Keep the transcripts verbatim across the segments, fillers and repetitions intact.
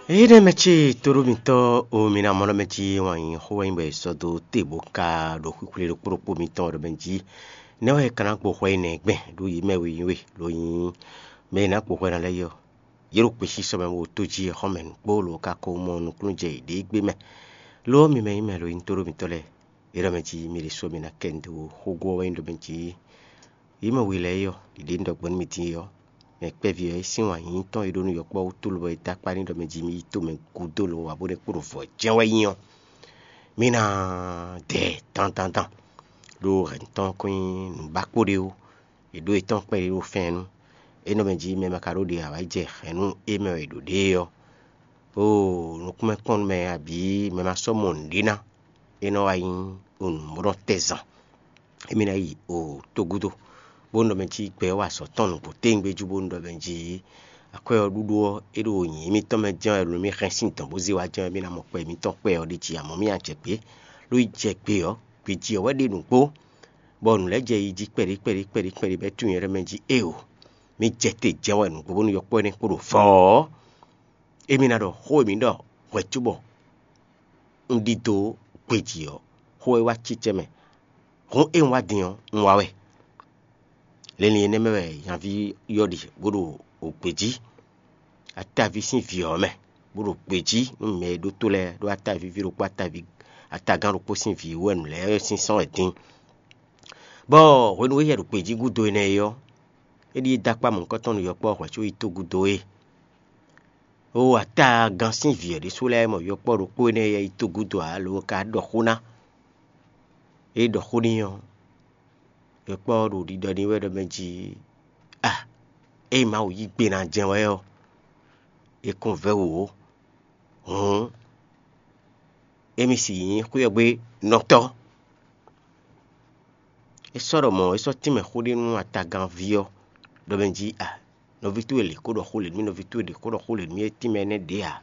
Énɛ́ mɛ ce tóɖó mitɔ́ o, mi ná mɔ ɖɔ mɛ jí wǎn yí xó wɛ nyí bɔ è sɔ́ dó te bó ka ɖo xwixwle ɖokpó ɖokpó mitɔn ɖɔ mɛ jí nɛ́ wɛ è ka ná gbo xwɛ énɛ́ gbɛn ɖó yě mɛ we nyí we, lo nyí mɛ e ná gbo xwɛ ná lɛ́ɛ yi ɔ́, yě ɖo kpesísɔ mɛ bó tó jí xɔ́mɛ nǔkpó lo ka ko mɔ nukúnnú jɛ yěɖée gbé mɛ. Lo ɔ́, mi mɛ nyí mɛ lo nyí tóɖó mitɔ́ lɛ́ɛ, é ɖɔ mɛ jí mi ɖésú mi ná kɛ un dó xógó ɔ́ wɛ nyí ɖɔ mɛ jí yě mɛ we lɛ́ɛ é ɔ́, ɖiɖe un ɖɔ gbɔn nú mi din é ɔ́, mɛ kpɛ́ví ɔ́ é sín wǎn yíyí tɔn e ɖó nú yɔkpɔ́ wútu lobɔ é dó akpá n'i ɖɔ mɛ jí mì yi tomɛ gúdo lo wǎ bó nɛ́ kpo ɖo vɔ̌ jɛ́n wɛ nyí ɔ́, mì ná dɛ dandandan, ɖó hɛ̌n tɔn kɔn nyí nǔbákpo ɖé ó. È ɖó yětɔn kpɛɖé ɖo fɛ́n nú é nɔ mɛ jí mɛ ma ka ɖó ɖe ǎ wá yi jɛ hɛ̌n nú é mɛ wɛ è ɖǒ ɖe é ɔ́, oo, nukúnmɛkpɔ́nnumɛ abǐ mɛ ma sɔ́ mɔ nǔɖé ná, é nɔ wá nyí nǔmɔɖɔtɛzan. Émí ná yi o tó gúdo, bónú ɖɔ mɛ jí gbɛ ɔ́ wa azɔ̌ tɔn nǔgbó téwúngbé jú, bónú ɖɔ mɛ jí akwɛ́ ɔ́ ɖúɖú ɔ́, é ɖo nyǐ émítɔn mɛ jɛ́n wɛ, nú mì hɛn sín dɔ̌n bó zé wá jɛ́n wɛ, mì ná mɔ kpɛ émítɔn kpɛ ɔ́ ɖ'é jí, amɔ̌ mì ná jɛ gbě. Ló yi jɛ gbe ɔ́, gbe jí ɔ́ wɛ ɖe nǔgbó, bɔ nǔ lɛ́ɛ jɛ yi jí kpɛɖé kpɛɖé kpɛɖé kpɛɖé bɔ é tunwun nyɛ ɖɔ mɛ jí éeǒ, mì jɛ te jɛ́n wɛ nǔgbó bónú yɔkpɔ́ énɛ́ kpo ɖo vɔ̌ ɔ́, émí ná ɖɔ xó e mǐ ɖɔ hwɛ̌ cóbɔ un ɖidó gbejí ɔ́, xó e wá cícɛ́ mɛ. Hǔn e un wá din ɔ́, un wá wɛ. Linlin énɛ́ mɛ wɛ nyaví ɔ́ ɖe bó ɖo gbejí ataví sín vǐ ɔ́ mɛ, bó ɖo gbejí nú mɛ e ɖótó lɛ́ɛ ɖó ataví ví ɖokpó ataví atagán ɖokpó sín vǐ wɛ nǔ lɛ́ɛ sín sɔ́n wɛ din. Bɔ hwenu e yɛ ɖo gbejí gúdo énɛ́ é ɔ́, é ɖíe dó akpá mɔ̌hunkɔtɔn nú yɔkpɔ́ hwɛ̌ có yi tó gúdo é. Oo, atagán sín vǐ ɔ́ ɖésú lɛ́ɛ mɔ yɔkpɔ́ ɖokpó énɛ́ e yi tó gúdo ǎ, lo ka ɖɔ xó ná. É ɖɔ xó n'i ɔ́, yɔkpɔ́ ɔ́ ɖo ɖiɖɔ n'i wɛ ɖɔ mɛ jí a, ényí Mawu yí gbe ná jɛ́n wɛ ɔ́, é kɔn vɛ́ wǔ ó. Hǔn émí si nyí xwé ɔ́ gbe nɔtɔ́. É sɔ́ ɖɔ mɔ̌, é sɔ́ tínmɛ xó ɖé nú atagánví ɔ́, ɖɔ mɛ jí a, nɔví towe lě kó ɖɔ xó lě nú mì, nɔví towe lě kó ɖɔ xó lě nú mì, é tínmɛ énɛ́ ɖě ǎ.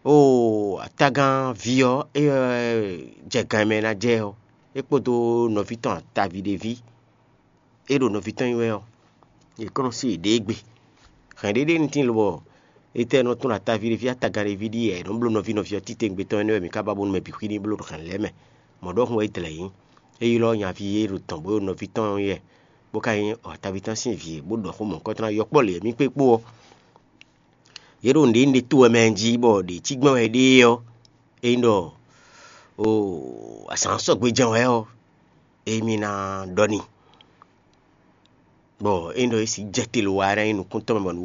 Oo, atagánví ɔ́, é wɛ jɛ gan e mɛ ná jɛ ɔ́, é kpódó nɔví tɔn ataví ɖé ví e ɖo nɔví tɔn nyi wɛ ɔ́, yě kɔn nɔ sí yěɖée gbe. Hɛ̌n ɖé ɖé nú tíin lobɔ étɛ́ nɔ tɔ́n ɖo ataví ɖé ví, atagán ɖé ví ɖíe è nɔ bló nɔví nɔví ɔ́ títewungbe tɔn énɛ́ wɛ mǐ ka ba bónú mɛ bǐ xwíní bló ɖo hɛ̌n lɛ́ɛ mɛ. Mɔ̌ ɖɔhun wɛ é dlɛ̌ nyí. É ylɔ́ nyaví e ɖo tɔn bó ɖo nɔví tɔn nyí wɛ, bó ka nyí ataví tɔn sín vǐ e, bó ɖɔ xó mɔ̌hunkɔtɔn ná yɔkpɔ́ lě e mì kpé kpó ɔ́. Yě ɖo nǔɖé nú ɖé to wɛ mɛ jí bɔ ɖě cí gbɛ́n wɛ ɖée ɔ́, é nyí ɖɔ oo, azǎn sɔgbe jɛ́n wɛ ɔ́, émí ná ɖɔ n'i. Bɔ é nyí ɖɔ é sixú jɛ te lo wá ná nyí nukúntɔ́ mɛ bɔ nǔ